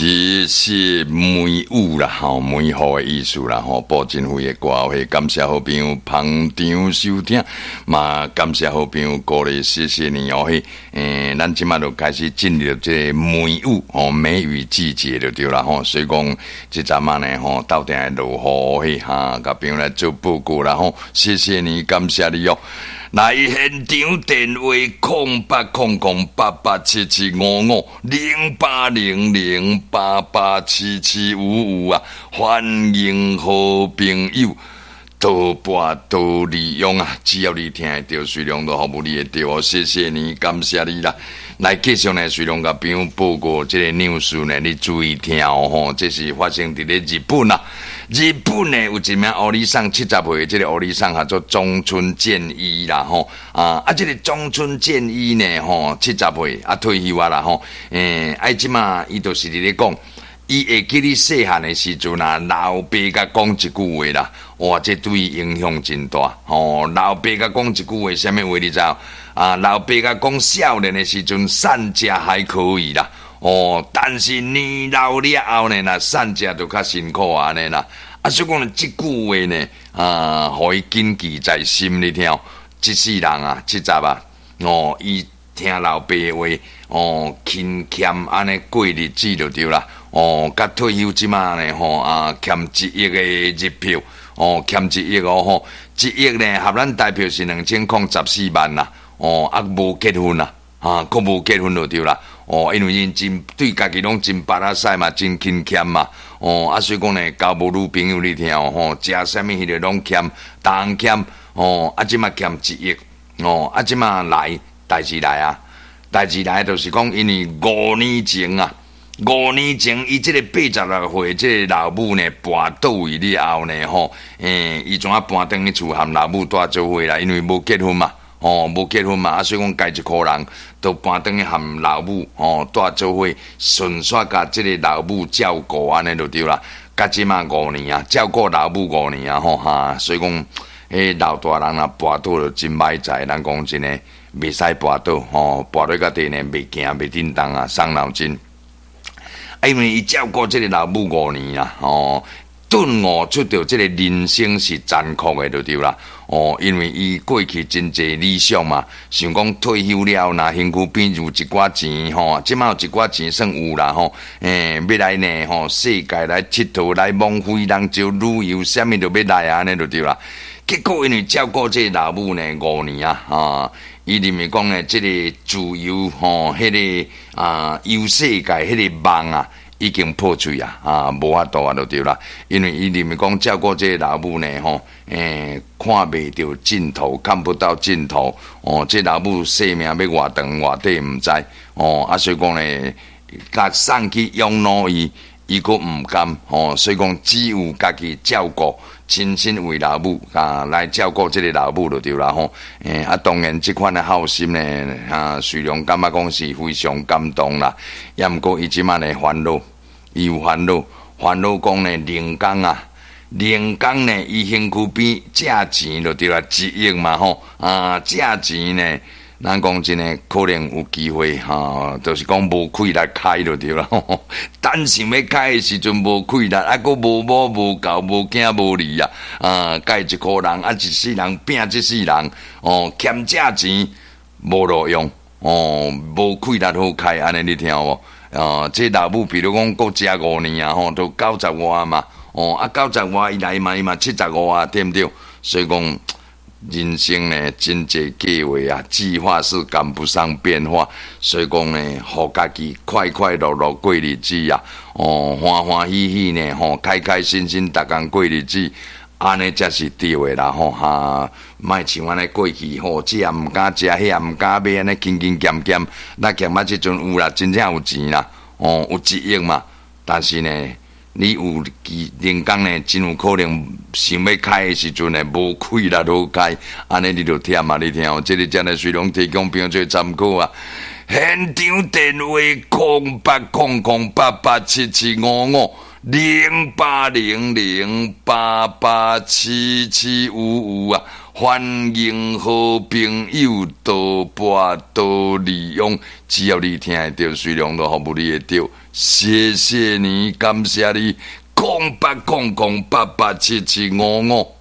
謝謝梅雨啦，吼，梅雨的意思啦，吼，布振輝的歌會，感謝好朋友捧場收聽，嘛感謝好朋友鼓勵，謝謝你哦，嘿，咱這馬就開始進入這個梅雨，吼，梅雨季節就對啦，吼，所以講這陣仔呢，吼，鬥定會落雨，嘿，哈，共朋友來做報告啦，吼，謝謝你，感謝你哦。來現場電話08008877550800887755啊！歡迎好朋友多撥多利用啊！只要你聽會著，隨量都服務你會著哦。謝謝你，感謝你啦！來繼續呢，隨量共朋友報告這個 news 呢，你注意聽哦吼！這是發生佇咧日本啊。日本呢有一名歐尼桑70歲，這個歐尼桑叫做中村健一啦吼啊啊！這個中村健一呢吼，70歲啊退休啊啦吼，啊這馬伊就是佇咧講，伊會記得細漢的時陣啊，老爸共講一句話啦，哇，這對伊影響真大吼。老爸共講一句話，啥物話你知？啊，老爸共講少年的時陣善食還可以啦，哦，但是年老了後呢，若善食就較辛苦按呢啦。啊，所以講這句話呢，啊，予伊謹記在心，你聽，這世人啊，70啊，哦，伊聽老爸話，哦，勤儉按呢過日子就對啦。哦，佮退休這馬呢，吼啊，欠一億的日票，哦，欠一億哦吼，一億呢，合咱台票是2014萬啦。哦，啊，無結婚啦，啊，閣無結婚就對啦。哦，因為𪜶真對家己攏真腹仔屎嘛，真勤儉嘛。哦，啊，所以講呢，交無女朋友你聽哦，吼，食啥物彼個攏儉，逐項儉。哦，啊，這馬欠一億，哦，啊，這馬來代誌來啊，代誌來就是講，因為五年前啊，五年前伊這個86歲這個老母呢，跋倒去了後呢，吼，伊怎啊搬轉去厝和老母蹛做伙啦？因為無結婚嘛。哦，無結婚嘛，啊，所以講家一箍人都搬轉去和老母吼蹛做伙，順紲共這個老母照顧按呢就對啦。佮這馬五年啊，照顧老母五年啊，吼哈，所以講，彼老大人若跋倒就真歹在，咱講真的，袂使跋倒吼，跋落較底呢，袂行袂振動啊，傷腦筋。啊，因為伊照顧這個老母五年啊，吼，頓悟出著這個人生是殘酷的，就對啦。哦，因為伊過去真濟理想嘛，想講退休了，若身軀邊有一寡錢吼，這馬有一寡錢算有啦吼，欲來呢吼，世界來𨑨迌來網飛人招旅遊，啥物都欲來啊，按呢就對啦。結果因為照顧這個老母呢五年啊，啊，伊認為講呢，這個自由吼，彼個啊遊世界彼個夢啊，已經破碎啊，啊，無法度啊，就對啦。因為伊認為講照顧這個老母呢，吼，看袂著盡頭，看不到盡頭。哦，這老母生命欲偌長偌短毋知。哦，啊，所以講呢，共送去養老院，伊閣毋甘。哦，所以講只有家己照顧，親身為老母啊來照顧這個老母就對啦。吼，啊，當然這款的孝心呢，啊，雖然感覺講是非常感動啦，也毋過伊這馬的煩惱。伊有煩惱，煩惱講呢，靈工啊，靈工呢，伊身軀邊借錢就對啦，一億嘛吼，啊，借錢呢，咱講真的，可能有機會哈，就是講無氣力開就對啦。等想欲開的時陣無氣力，啊，閣無某無猴無囝無兒啊，啊，佮一箍人啊，一世人拚這世人，哦，欠借錢無路用，哦，無氣力好開，按呢你聽有無？哦，這老母比如講，閣食五年啊，吼，都九十外嘛，哦，啊，九十外伊來嘛，伊嘛75啊，對毋對？所以講，人生呢，真濟計劃啊，計劃是趕不上變化，所以講呢，予家己快快樂樂過日子啊，哦，歡歡喜喜呢，吼，開開心心逐工過日子，按呢才是對的啦，吼哈，莫像按呢過去吼，這也毋敢食，彼也毋敢買，按呢勤勤儉儉，咱欠啊這陣有啦，真正有錢啦，哦，有一億嘛，但是呢，你有機靈工呢，真有可能想欲開的時陣呢，無氣力好開，按呢你就忝啊！你聽哦，這個真的隨攏提供朋友做參考啊。現場電話08008877550800887755啊！歡迎好朋友多撥多利用，只要你聽會著，隨量都服務你會著。謝謝你，感謝你，0800887755。